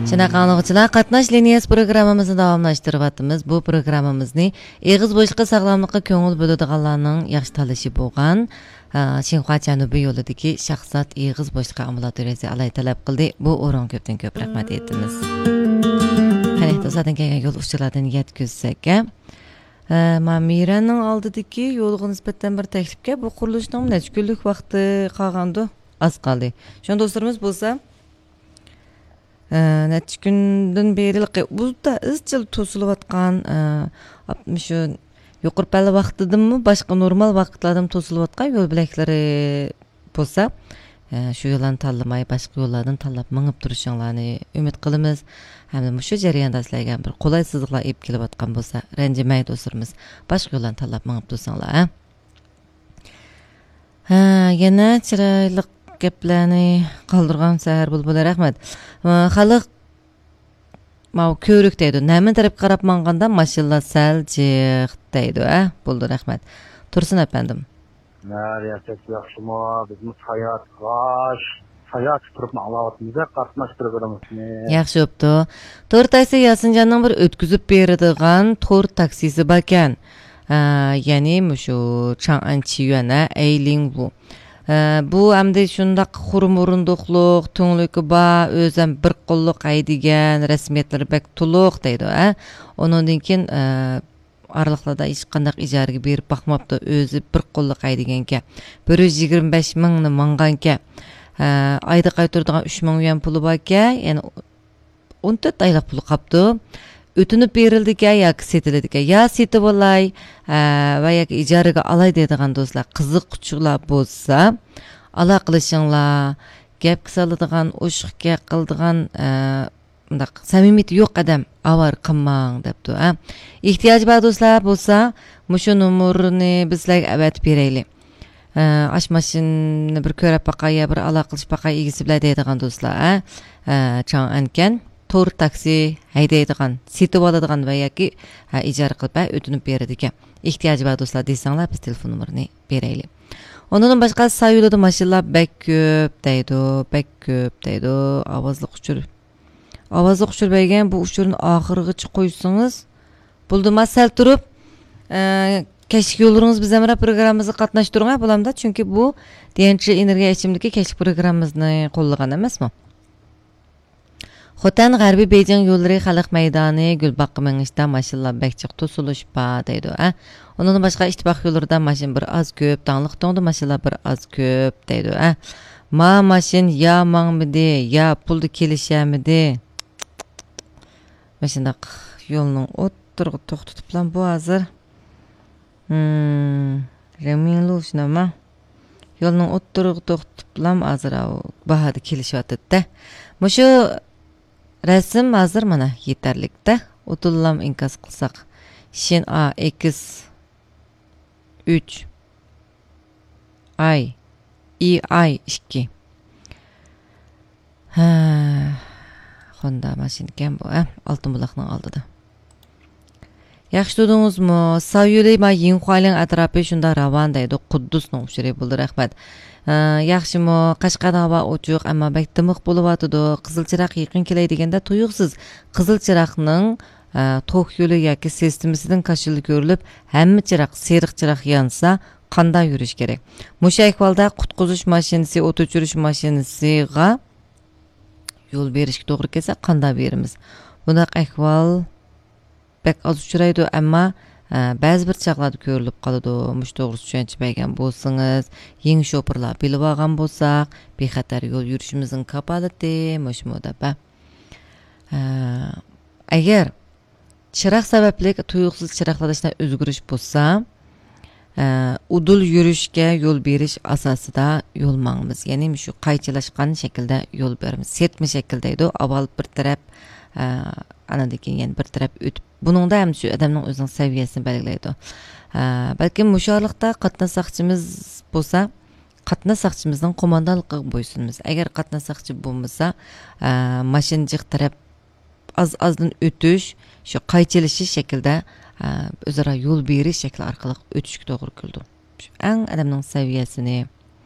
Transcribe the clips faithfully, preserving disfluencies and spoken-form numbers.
شۇنداق ئاڭلىغۇچىلار، قاتناش لىنىيەسى پروگراممىمىزنى داۋاملاشتۇرۇۋاتىمىز. بۇ پروگراممىمىزنى ئېغىز بوشلۇقى ساغلاملىققا كۆڭۈل بۆلىدىغانلارنىڭ ياخشى تاللىشى بولغان، ئا، شىنخۇا جەنۇبىي يولىدىكى شاھزات ئېغىز بوشلۇقى ئامبۇلاتورىيەسى ئالاھىدە تەلەپ قىلدى. بۇ ئورۇنغا كۆپتىن كۆپ رەھمەت ئېيتىمىز. قېنى، دوستلاردىن كەلگەن يول ئۇچۇرلاردىن يەتكۈزسەك، ئە، ما مىرەننىڭ ئالدىدىكى يولغا نىسبەتەن بىر تەكلىپكە، بۇ قۇرۇلۇشنىڭ نەچچە كۈنلۈك ۋاقتى قالغاندۇ؟ ئاز قالدى. شۇڭا دوستلىرىمىز بولسا، ئە، نەچچە كۈندىن بېرى بۇدا ئىزچىل توسۇلۇۋاتقان، ئە، مۇشۇ يۇقىرى پەللە ۋاقتىدىمۇ باشقا نورمال ۋاقىتلاردىمۇ توسۇلۇۋاتقان يول بۆلەكلىرى بولسا، ئە، شۇ يوللارنى تاللىماي، باشقا يوللاردىن تاللاپ مېڭىپ تۇرۇشۇڭلارنى ئۈمىد قىلىمىز. ھەمدە مۇشۇ جەرياندا سىلەرگە بىر قولايسىزلىقلار ئېلىپ كېلىۋاتقان بولسا، رەنجىمەي دوستلىرىمىز، باشقا يوللارنى تاللاپ مېڭىپ تۇرساڭلار، ھە؟ ھە، يەنە چىرايلىق گەپلەرنى قالدۇرغان سەھەر بۇلبۇلى، رەھمەت. ئە، خەلق ماۋۇ كۆۋرۈك دەيدۇ. نەمىن تەرەپكە قاراپ ماڭغاندا ماشىنىلار سەل جىق دەيدۇ، ھە؟ بولدى، رەھمەت. تۇرسۇن ئەپەندىم. ھە، رىياسەت ياخشىمۇ؟ بىزمۇ ساياھەت، ساياھەتكە تۇرۇپ ئاڭلاۋاتىمىز، قاتناش پروگراممىسىنى. ياخشى بوپتۇ. تور تاكسى ياسىنجاننىڭ بىر ئۆتكۈزۈپ بېرىدىغان تور تاكسىسى باركەن. ئە، يەنى مۇشۇ چاڭئەن چىيۈەن، ئە، ئەيلىڭۋۇ. ئە، بۇ ئەمدى شۇنداق خۇرۇم ئورۇندۇقلۇق، تۈڭلۈكى بار، ئۆزەم بىر قوللۇق ھەيدىگەن، رەسمىيەتلىرى بەك تولۇق دەيدۇ، ئە. ئۇنىڭدىن كېيىن، ئە، ئارىلىقلاردا ھېچقانداق ئىجارىگە بېرىپ باقماپتۇ، ئۆزى بىر قوللۇق ھەيدىگەنكەن. بىر يۈز يىگىرمە بەش مىڭنى ماڭغانكەن. ئە، ئايدا قايتۇرىدىغان ئۈچ مىڭ يۈەن پۇلى باركەن، يەنى ئون تۆت ئايلىق پۇل قاپتۇ. ئۆتۈنۈپ بېرىلىدىكەن ياكى سېتىلىدىكەن؟ يا سېتىۋالاي، ھە، ۋە ياكى ئىجارىگە ئالاي دەيدىغان دوستلار، قىزىققۇچىلار بولسا، ئالاقىلىشىڭلار. گەپكە سالىدىغان، ئوشۇق گەپ قىلىدىغان، ھە، مۇنداق سەمىمىيىتى يوق ئادەم ئاۋارە قىلماڭ دەپتۇ، ھە. ئېھتىياجى بار دوستلار بولسا، مۇشۇ نومۇرنى بىز سىلەرگە ئەۋەتىپ بېرەيلى. ئە، ئاش ماشىنىنى بىر كۆرۈپ باقاي يا بىر ئالاقىلىشىپ باقاي ئىگىسى بىلەن دەيدىغان دوستلار، ئە، ئە، چاڭئەنكەن تور تاكسى ھەيدەيدىغان، سېتىۋالىدىغان ۋە ياكى، ئە، ئىجارە قىلىپ، ئە، ئۆتۈنۈپ بېرىدىكەن. ئېھتىياجى بار دوستلار دېسەڭلار، بىز تېلېفون نومۇرىنى بېرەيلى. ئۇنىڭدىن باشقا، سايۇلىدا ماشىنىلار بەك كۆپ دەيدۇ، بەك كۆپ دەيدۇ. ئاۋازلىق ئۇچۇر. ئاۋازلىق ئۇچۇر بەرگەن، بۇ ئۇچۇرنى ئاخىرغىچە قويسىڭىز بولدىما؟ سەل تۇرۇپ، ئە، كەچلىك يوللىرىڭىز بىز ھەمراھ پروگراممىمىزغا قاتناشتۇرۇڭ، ھە، بولامدا؟ چۈنكى بۇ دىيەنچى ئېنېرگىيە ئىچىملىكى كەچلىك پروگراممىمىزنى قوللىغان ئەمەسمۇ؟ خوتەن غەربىي بېيجىڭ يوللىرى خەلق مەيدانى، گۈلباغقا مېڭىشتا ماشىنىلار بەك جىق توسۇلۇش بار دەيدۇ، ھە. ئۇنىڭدىن باشقا، ئىتتىپاق يوللىرىدا ماشىنا بىر ئاز كۆپ، داڭلىق تۇڭدا ماشىنىلار بىر ئاز كۆپ دەيدۇ، ھە. ما ماشىنا يا ماڭمىدى، يا پۇلدا كېلىشەلمىدى. مۇشۇنداق يولنىڭ ئوتتۇرىغا توختىتىپلا بۇ ھازىر. ھىم، رېڭمىڭلۇ شۇنداقما؟ يولنىڭ ئوتتۇرىغا توختىتىپلا ھازىر ئاۋۇ باھادا كېلىشىۋاتىدۇ-دە. مۇشۇ رەسىم ھازىر مانا يېتەرلىك-دە. ئۇدۇللام ئىنكاس قىلساق. شىن ئا ئېكس ئۈچ ئاي، ئى ئاي ئىككى. ھە، خوندا ماشىنىكەن بۇ، ھە، ئالتۇن بۇلاقنىڭ ئالدىدا. ياخشى تۇردىڭىزمۇ؟ ساۋيۈلى ما يىڭخۇالىڭ ئەتراپى شۇنداق راۋان دەيدۇ. قۇددۇسنىڭ ئۇچۇرى بولدى، رەھمەت. ھە، ياخشىمۇ؟ قەشقەردە ھاۋا ئوچۇق، ئەمما بەك دىمىق بولۇۋاتىدۇ. قىزىل چىراغ يېقىن كېلەي دېگەندە تۇيۇقسىز قىزىل چىراغنىڭ، ھە، توك يولى ياكى سىستېمىسىدىن كاشىلا كۆرۈلۈپ، ھەممە چىراغ سېرىق چىراغ يانسا، قانداق يۈرۈش كېرەك؟ مۇشۇ ئەھۋالدا قۇتقۇزۇش ماشىنىسى، ئوت ئۆچۈرۈش ماشىنىسىغا يول بېرىشكە توغرا كەلسە، قانداق بېرىمىز؟ بۇنداق ئەھۋال بەك ئاز ئۇچرايدۇ، ئەمما، ئە، بەزى بىر چاغلاردا كۆرۈلۈپ قالىدۇ. مۇشۇ توغرىسىدا چۈشەنچە بەرگەن بولسىڭىز، يېڭى شوپۇرلار بىلىۋالغان بولساق، بىخەتەر يول يۈرۈشىمىزنىڭ كاپالىتى مۇشۇمۇ دەپ، ئە، ئەگەر چىراغ سەۋەبلىك تۇيۇقسىز چىراغلاردا شۇنداق ئۆزگىرىش بولسا، ئە، ئۇدۇل يۈرۈشكە يول بېرىش ئاساسىدا يول ماڭىمىز. يەنى مۇشۇ قايچىلاشقان شەكىلدە يول بېرىمىز. سىرتما شەكىل دەيدۇ. ئاۋۋال بىر تەرەپ، ئە، ئانىڭدىن كېيىن يەنە بىر تەرەپ ئۆتۈپ، بۇنىڭدا ھەم شۇ ئادەمنىڭ ئۆزىنىڭ سەۋىيەسىنى بەلگىلەيدۇ. ئە، بەلكىم مۇشۇ ئارىلىقتا قاتناش ساقچىمىز بولسا، قاتناش ساقچىمىزنىڭ قوماندانلىقىغا بويسۇنىمىز. ئەگەر قاتناش ساقچى بولمىسا، ئە، ماشىنا جىق تەرەپ ئاز-ئازدىن ئۆتۈش، شۇ قايچىلىشىش شەكلىدە، ئە، ئۆزئارا يول بېرىش شەكلى ئارقىلىق ئۆتۈشكە توغرا كېلىدۇ. شۇ ئەڭ ئادەمنىڭ سەۋىيەسىنى،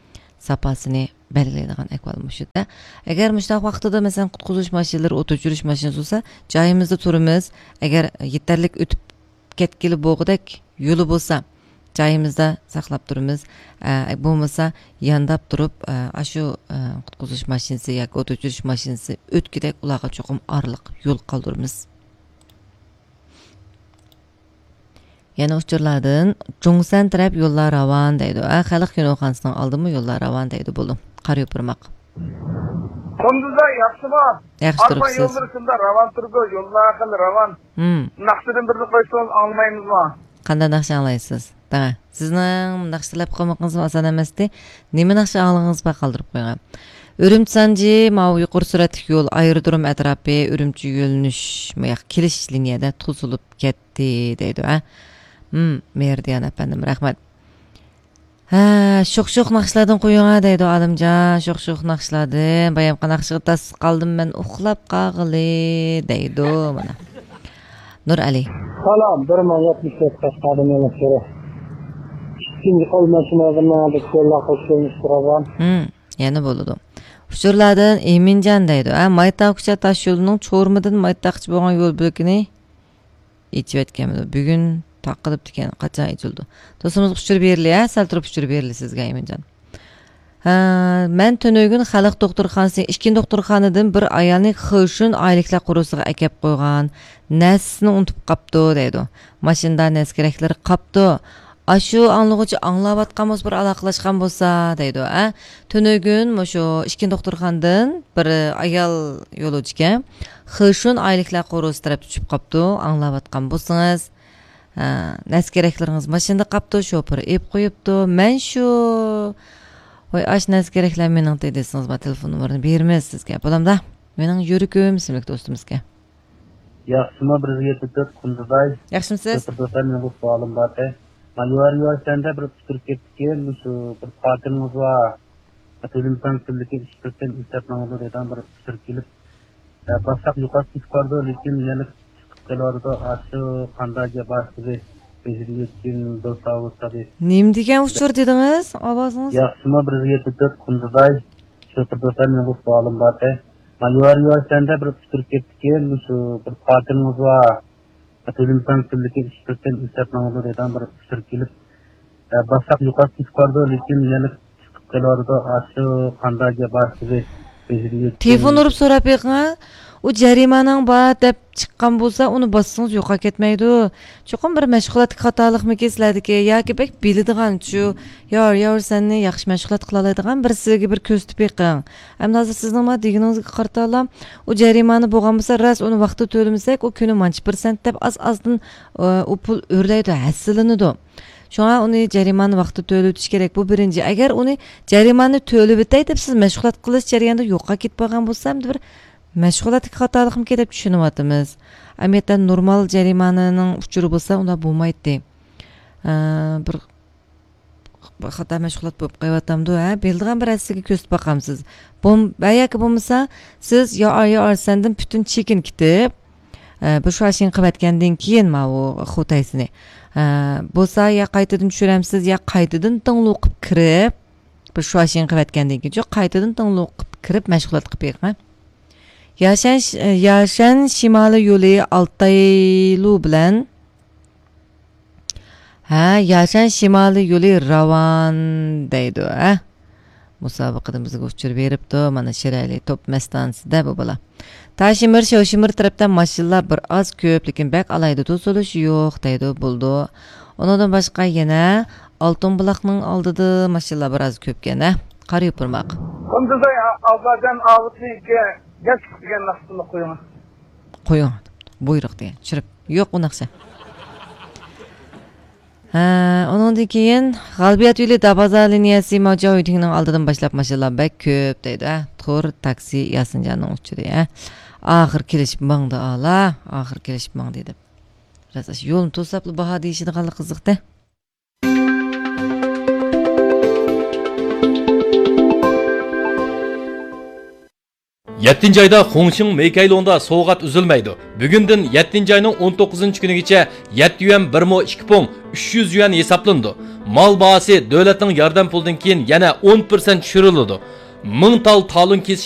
ساپاسىنى بەلگىلەيدىغان ئەھۋال مۇشۇ-دە. ئەگەر مۇشۇنداق ۋاقتىدا، مەسىلەن، قۇتقۇزۇش ماشىنىلىرى، ئوت ئۆچۈرۈش ماشىنىسى بولسا، جايىمىزدا تۇرىمىز. ئەگەر يېتەرلىك ئۆتۈپ كەتكىلى بولغۇدەك يولى بولسا، جايىمىزدا ساقلاپ تۇرىمىز. ئە، بولمىسا، يانداپ تۇرۇپ، ئە، ئاشۇ، ئە، قۇتقۇزۇش ماشىنىسى ياكى ئوت ئۆچۈرۈش ماشىنىسى ئۆتكۈدەك ئۇلارغا چوقۇم ئارىلىق يول قالدۇرىمىز. يەنە ئۇچۇرلاردىن، جۇڭسەن تەرەپ يوللار راۋان دەيدۇ. ئە، خەلق كىنوخانىسىنىڭ ئالدىمۇ يوللار راۋان دەيدۇ. بولدى. قارا يوپۇرماق. قۇندۇزاي، ياخشىمۇ؟ ياخشى ئالپان تۇرۇپسىز. يوللىرى شۇنداق راۋان تۇرىدۇ، يوللار خېلى راۋان. ھىم. ناخشىدىن بىرنى قويسىڭىز ئاڭلىمايمىزمۇ؟ قانداق ناخشا ئاڭلايسىز؟ دەڭە. سىزنىڭ ناخشا تەلەپ قىلمىقىڭىزمۇ ئاسان ئەمەستى. نېمە ناخشا ئاڭلىغىڭىز بار، قالدۇرۇپ قويۇڭ. ئۈرۈمچى سانجى، ماۋۇ يۇقىرى سۈرئەتلىك يول، ئايرودروم ئەتراپى، ئۈرۈمچى يۆنىلىش، مۇياق كېلىش لىنىيەدە توسۇلۇپ كەتتى دەيدۇ، ھە؟ ھىم، مېرىدىيان ئەپەندىم، رەھمەت. ھە، شوخ-شوخ ناخشىلاردىن قويۇڭ ھە دەيدۇ ئالىمجان، شوخ-شوخ ناخشىلاردىن. بايامقى ناخشىغا تاس قالدىم مەن ئۇخلاپ قالغىلى دەيدۇ مانا. نۇرئەلى. سالام، بىر مىڭ يەتمىش تۆت قەشقەردىن يېڭى ئۇچۇرى. ئىككىنچى قول ماشىنا بىر مىڭ بىر يوللار قوشۇلمىش تۇرغان. ھىم، يەنە بولىدۇ. ئۇچۇرلاردىن ئىمىنجان دەيدۇ. ھە، مايتا كۇچا تاش يولىنىڭ چورمىدىن مايتاغقىچە بولغان يول بۆلىكىنى ئېچىۋەتكەنمىدۇ؟ بۈگۈن تاقىلىپتىكەن، قاچان ئېچىلىدۇ؟ دوستىمىزغا ئۇچۇر بېرىلى، ھە؟ سەل تۇرۇپ ئۇچۇر بېرىلى سىزگە، ئىمىنجان. ھە، مەن تۈنۈگۈن خەلق دوختۇرخانىسى، ئىككىنچى دوختۇرخانىدىن بىر ئايالنى خېشۈن ئايلىكلار قورۇسىغا ئەكەپ قويغان، نەرسىسىنى ئۇنتۇپ قاپتۇ، دەيدۇ. ماشىنىدا نەرسە كېرەكلىرى قاپتۇ. ئاشۇ ئاڭلىغۇچى ئاڭلاۋاتقان بولسا، بىر ئالاقىلاشقان بولسا، دەيدۇ، ھە؟ تۈنۈگۈن مۇشۇ ئىككىنچى دوختۇرخانىدىن بىر ئايال يولۇچىكەن. خېشۈن ئايلىكلار قورۇسى تەرەپتە چۈشۈپ قاپتۇ، ئاڭلاۋاتقان بولسىڭىز. ھە، نەرسە كېرەكلىرىڭىز ماشىنىدا قاپتۇ، شوپۇر ئېلىپ قويۇپتۇ. مەن شۇ، ۋاي، ئاشۇ نەرسە كېرەكلەر مېنىڭتى دېسىڭىز، مانا تېلېفون نومۇرىنى بېرىمىز سىزگە. بولامدا؟ مېنىڭ يۈرىكىم ئىسىملىك دوستىمىزگە. ياخشىما بىر يىگىت تۆت قۇندىزاي. ياخشىمۇسىز؟ شوپۇر دوستلار، مېنىڭ بىر سوئالىم بار. مانا يۇقىرى يۈەنچەندە بىر ئۇچۇر كەپتىكەن، شۇ بىر پارتىنىڭىز بار. تۆلىمىسەڭ كۈنلۈكى ئىش بىرسەن ئىشلەپ ماڭىدۇ دەيدىغان بىر ئۇچۇر كېلىپ، ئە، باشلاپ يوقاپ كېتىپ بارىدۇ، لېكىن يەنە چىقىپ كېلىۋاتىدۇ. ئاشۇ قانداق گەپ ئاشۇ بىزدە يەتكىن دوست ئاۋۇ تادى. نېمە دېگەن ئۇچۇر دېدىڭىز؟ ئاۋازىڭىز؟ ياخشىما بىر يەتتە تۆت قۇندىزاي. شوپۇر دوستلار، مېنىڭ بىر سوئالىم بار. مانا يۇقىرى يۈەنچەندە بىر ئۇچۇر كەپتىكەن، شۇ بىر پارتىنىڭىز بار. تۆلىمىسەڭ كۈنلۈكى ئىش بىرسەن ئىشلەپ ماڭىدۇ دەيدىغان بىر ئۇچۇر كېلىپ، ئە، باشلاپ يوقاپ كېتىپ بارىدۇ، لېكىن يەنە چىقىپ كېلىۋاتىدۇ. ئاشۇ قانداق گەپ بار سىزى بېزىدە يەتكەن. تېلېفون ئۇرۇپ سوراپ بېقىڭ. ئۇ جەرىمانەڭ بار دەپ چىققان بولسا، ئۇنى باسسىڭىز يوقاپ كەتمەيدۇ. چوقۇم بىر مەشغۇلاتتىكى خاتالىقمىكىن سىلەردىكى ياكى بەك بىلىدىغان شۇ يار، يار سەننى ياخشى مەشغۇلات قىلالايدىغان بىرسىگە بىر كۆرسىتىپ بېقىڭ. ئەمدى ھازىر سىزنىڭ مانا دېگىنىڭىزگە قارىتالا، ئۇ جەرىمانە بولغان بولسا، راست ئۇنى ۋاقتىدا تۆلىمىسەك، ئۇ كۈنى مانچە پىرسەنت دەپ ئاز-ئازدىن، ئۇ پۇل ئۆرلەيدۇ، ھەسسىلىنىدۇ. شۇڭا ئۇنى جەرىمانە ۋاقتىدا تۆلىۋېتىش كېرەك. بۇ بىرىنچى. ئەگەر ئۇنى جەرىمانە تۆلىۋېتەي دەپ سىز مەشغۇلات قىلىش جەريانىدا يوقاپ كېتىپ قالغان بولسا، ئەمدى بىر مەشغۇلاتتىكى خاتالىقمىكىن دەپ چۈشىنىۋاتىمىز. ئەمەلىيەتتە نورمال جەرىمانىنىڭ ئۇچۇرى بولسا، ئۇنداق بولمايتتى. ئە، بىر، بىر خاتا مەشغۇلات بولۇپ قېلىۋاتامدۇ، ھە؟ بىلىدىغان بىر ھەسسىگە كۆرسىتىپ باقامسىز. بوم-، ۋە ياكى بولمىسا، سىز يا ئار، يا ئار سەندىن پۈتۈن چېكىنى كېتىپ، ئە، بىر شۇاشىڭ قىلىۋەتكەندىن كېيىن ماۋۇ خۇتەيسىنى، ئە، بولسا يا قايتىدىن چۈشۈرەمسىز، يا قايتىدىن داڭلۇق قىلىپ كىرىپ، بىر شۇاشىڭ قىلىۋەتكەندىن كېيىن، شۇ قايتىدىن داڭلۇق قىلىپ كىرىپ مەشغۇلات قىلىپ بېقىڭ. ياشەن، ياشەن شىمالىي يولى ئالتايلۇ بىلەن، ھە، ياشەن شىمالىي يولى راۋان دەيدۇ، ھە. مۇسابىقىدە بىزگە ئۇچۇر بېرىپتۇ، مانا شىرئەلى توپ مەستانىسىدە بۇ بالا. تاشىمىر، شوشىمىر تەرەپتە ماشىنىلار بىر ئاز كۆپ، لېكىن بەك ئالاھىدە توسۇلۇش يوق دەيدۇ، بولىدۇ. ئۇنىڭدىن باشقا يەنە ئالتۇن بۇلاقنىڭ ئالدىدا ماشىنىلار بىر ئاز كۆپكەن، ھە؟ قارا يوپۇرماق. قۇندۇزاي ئابادان ئاۋۇتنىڭكى گەپ دېگەن ناخشىسىنى قويۇڭ. قويۇڭ. بۇيرۇق دېگەن. چۈشۈرۈپ. يوق ئۇ ناخشا. ھە، ئۇنىڭدىن كېيىن غالبىيات يولى دابازا لىنىيەسى ماۋجاۋ ھۆيتىڭنىڭ ئالدىدىن باشلاپ ماشىنىلار بەك كۆپ دەيدۇ، ھە. تور تاكسى ياسىنجاننىڭ ئۇچۇرى، ھە. ئاخىر كېلىشىپ ماڭدى ئالا، ئاخىر كېلىشىپ ماڭدى دەپ. بىراز ئاشۇ يولنى توساپلا باھا دېيىشىدىغانلىق قىزىقتى. يەتتىنچى ئايدا خۇڭشىڭ مېيكەيلۇڭدا سوۋغات ئۈزۈلمەيدۇ. بۈگۈندىن يەتتىنچى ئاينىڭ ئون توققۇزىنچى كۈنىگىچە يەتتە يۈەن بىر مو ئىككى پۇڭ ئۈچ يۈەن ھېسابلىنىدۇ. مال باھاسى دۆلەتنىڭ ياردەم پۇلىدىن كېيىن يەنە ئون پىرسەنت چۈشۈرۈلىدۇ. مىڭ تال تالون كېسىش